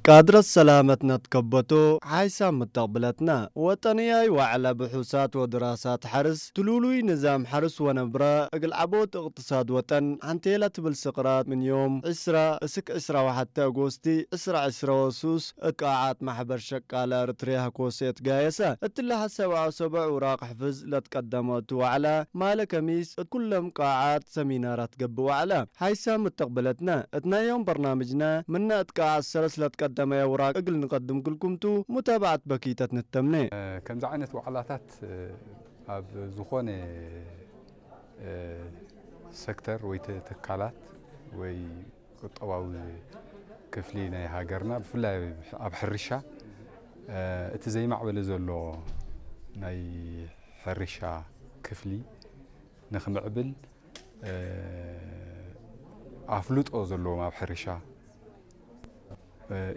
ቃድረት ሰላመት ነትከበቶ ሓይሳ ምተቕብለትና ወጠንያይ ዋዕላ ብሑሳት ወድራሳት ሓርስ ትሉሉይ ንዛም ሓርስ ወነብራ እግል ዓቦት እቕትሳድ ወጠን ሓንቴላ ትብል ስቕራት ምን ዮም ዕስራ እስክ ዕስራ ወሓተ ኣጎስቲ ዕስራ ዕስራ ወሱስ እቃዓት ማሕበር ሸቃላ እርትርያ ኮሴት ጋየሰ እትላ ሐሰብ ኣሰበዕ ውራቕ ሕፍዝ ለትቀደመቱ ዋዕላ ማለ ከሚስ እት ኩሎም ቃዓት ሰሚናራት ገብእ ዋዕላ ሓይሳ ምተቕብለትና እት ናዮም በርናምጅና ምና እት ቃዓት ሰለስ ለትቀደመያ ውራቕ እግል ንቀድም ክልኩምቱ ሙታባዓት በኪተት ንተምነ። ከምዚ ዓይነት ዋዕላታት ኣብ ዝኾነ ሰክተር ወይ ተ- ትካላት ወይ ቁጠባዊ ክፍሊ ናይ ሃገርና ብፍላይ ኣብ ሕርሻ እቲ ዘይማዕበለ ዘሎ ናይ ሕርሻ ክፍሊ ንክምዕብል ኣፍልጦ ዘለዎም ኣብ ሕርሻ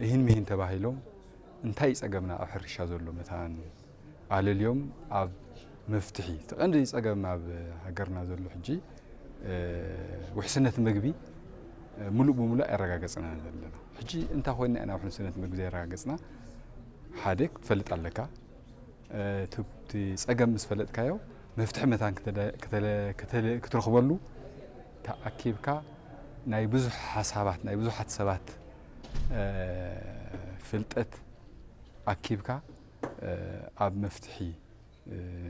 እሂን ምሂን ተባሂሎም እንታይ ጸገምና ኣብ ሕርሻ ዘሎ መታን ኣለልዮም ኣብ መፍትሒ እቲ ቀንዲ ጸገም ኣብ ሃገርና ዘሎ ሕጂ ውሕስነት ምግቢ ሙሉእ ብሙሉእ ኣየረጋገጽና ዘለና። ሕጂ እንታይ ኮይና ኢና ውሕስነት ምግቢ ዘየረጋገጽና? ሓደ ክትፈልጥ ኣለካ። እቲ ጸገም ምስ ፈለጥካዮ መፍትሒ መታን ክትረኽበሉ ተኣኪብካ ናይ ብዙሕ ሓሳባት ናይ ብዙሓት ሰባት ፍልጠት ኣኪብካ ኣብ መፍትሒ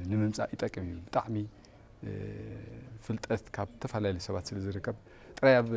ንምምጻእ ይጠቅም እዩ። ብጣዕሚ ፍልጠት ካብ ዝተፈላለዩ ሰባት ስለ ዝርከብ ጥራይ ኣብ